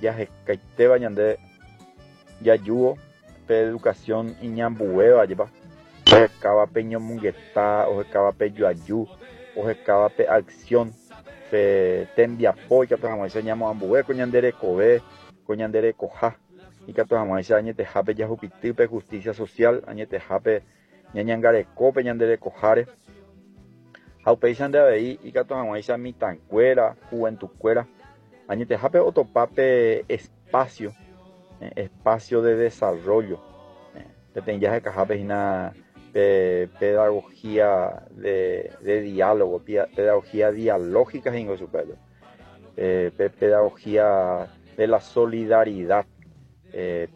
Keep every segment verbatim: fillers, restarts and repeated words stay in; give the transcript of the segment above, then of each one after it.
Jahekaitéva ñande jajúvo pe educación iñambuéva jepa ohekáva pe ñomongeta, ohekáva pe joaju, ohekáva pe acción, pe tembiapo ikatu hag̃uáicha ñamoambue ko ñande rekove, ko ñande rekoha, ikatu hag̃uáicha añetehápe jahupity pe justicia social, añetehápe ñañangareko pe ñande rekoháre. Ha upéicha nde avei ikatu hag̃uáicha mitãkuéra, juventukuéra, añetehápe otopa pe espacio, eh, espacio de desarrollo. Eh, peteĩ jahekahápe hína pe pedagogía de, de diálogo, pedagogía dialógica he'ingo chupe. Eh, pe pedagogía de la solidaridad, eh,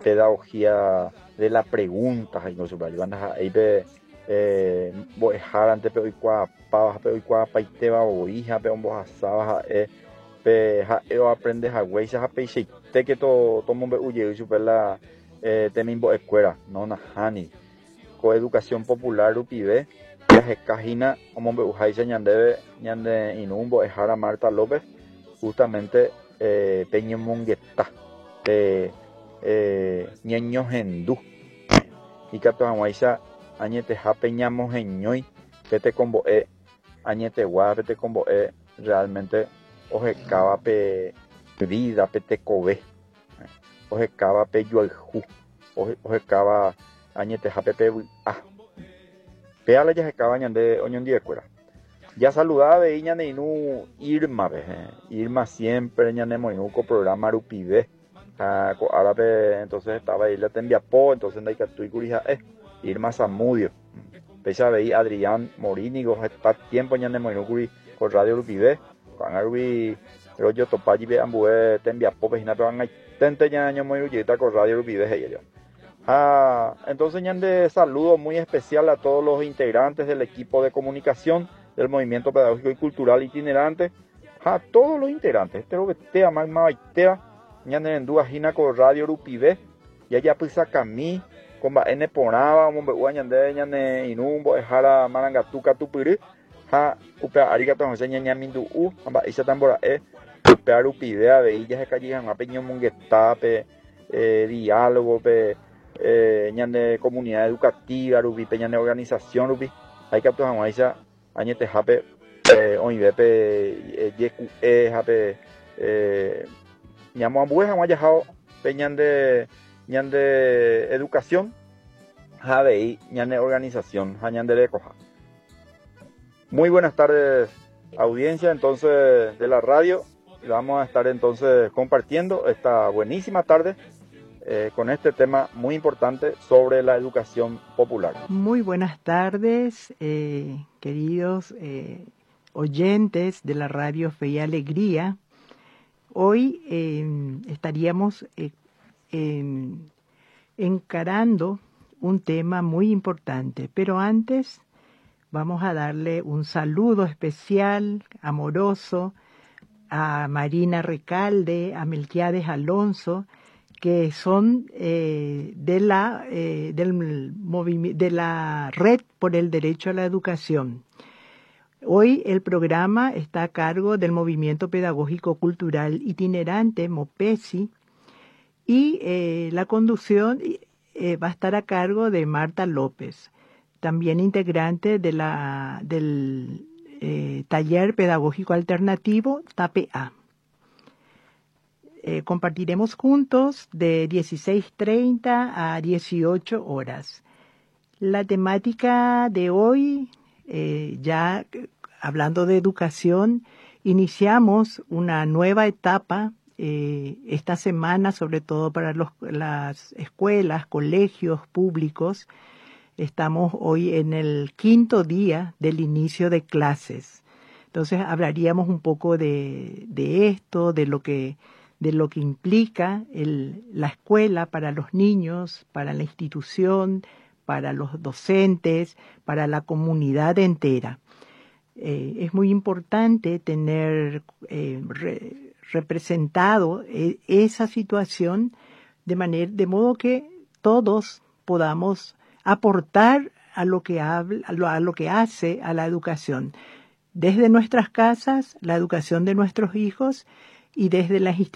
pedagogía de la pregunta he'ingo chupe. Ndaha'éi pe eh, mbo'ehárante pe oikuaapáva ha pe oikuaapaitéva voi ha pe ombohasáva ha'e pe ha'e oaprende haguéicha ha peichaitéke tomombe'u jey chupe la eh, temimbo'ekuéra, no nahániri. Ko educación popular rupive jahekahína omombe'uháicha ñandéve ñane irũ mbo'ehára Marta López, justamente eh, pe ñomongeta, pe eh, ñañohendu ikatu hag̃uáicha añetehápe ñamoheñói pe tekombo'e añetegua, pe tekombo'e realmente ohekáva pe vida, pe tekove, ohekáva pe joayhu, ohekáva añetehápe pe vy'a. Péa la jahekáva ñande oñondiekuéra. Ya saludaba avei ñane irũ Irma-pe, Irma siempre ñanemoirũ ko programa rupive. Ha ko árape entonces estaba ahí la tembiapo, entonces ndaikatúikuri ha'e Irma Zamudio. Péicha avei Adrián Morínigo heta tiempo ñanemoirũkuri ko radio rupive. Ko'ág̃a rupi rojotopa jipe ambue tembiapópe hína pe ag̃aiténte ñañomoirũjeýta ko radio rupive he'i. Ah, entonces ñande saludo muy especial a todos los integrantes del equipo de comunicación del Movimiento Pedagógico y Cultural Itinerante, a todos los integrantes, este robetea, magmavaitéva, ñane rendúva hína ko radio rupive, jajapysakami, ko mba'e neporãva omombe'úva ñande ñane irũ mbo'ehára marangatu katupyry, ha upe ári katu hag̃uáicha ñañamindu'u ha mba'éicha tambora'e upéva rupive avei jahekajey hag̃ua pe ñomongeta, pe eh, diálogo, pe eh, ñane comunidad educativa rupi, pe ñane organización rupi, ha ikatu hag̃uáicha añetehápe eh, oĩve pe jeku'e ha pe eh, ñamoambue hag̃ua jahao pe ñande ñande educación ha avei ñane organización ha ñande rekoha. Muy buenas tardes, audiencia entonces de la radio. Vamos a estar entonces compartiendo esta buenísima tarde eh, con este tema muy importante sobre la educación popular. Muy buenas tardes, eh, queridos eh, oyentes de la radio Fe y Alegría. Hoy eh, estaríamos eh, encarando un tema muy importante, pero antes vamos a darle un saludo especial, amoroso, a Marina Recalde, a Melquiades Alonso, que son eh, de, la, eh, del de la Red por el Derecho a la Educación. Hoy el programa está a cargo del Movimiento Pedagógico Cultural Itinerante, MOPESI, y eh, la conducción eh, va a estar a cargo de Marta López, también integrante de la, del eh, Taller Pedagógico Alternativo TAPA. Eh, compartiremos juntos de dieciséis treinta a dieciocho horas. La temática de hoy, eh, ya hablando de educación, iniciamos una nueva etapa eh, esta semana, sobre todo para los, las escuelas, colegios públicos. Estamos hoy en el quinto día del inicio de clases. Entonces hablaríamos un poco de, de esto, de lo que de lo que implica el, la escuela para los niños, para la institución, para los docentes, para la comunidad entera. Eh, es muy importante tener eh, re, representado eh, esa situación de manera, de modo que todos podamos aportar a lo que habla, a lo, a lo que hace a la educación. Desde nuestras casas, la educación de nuestros hijos y desde las instituciones.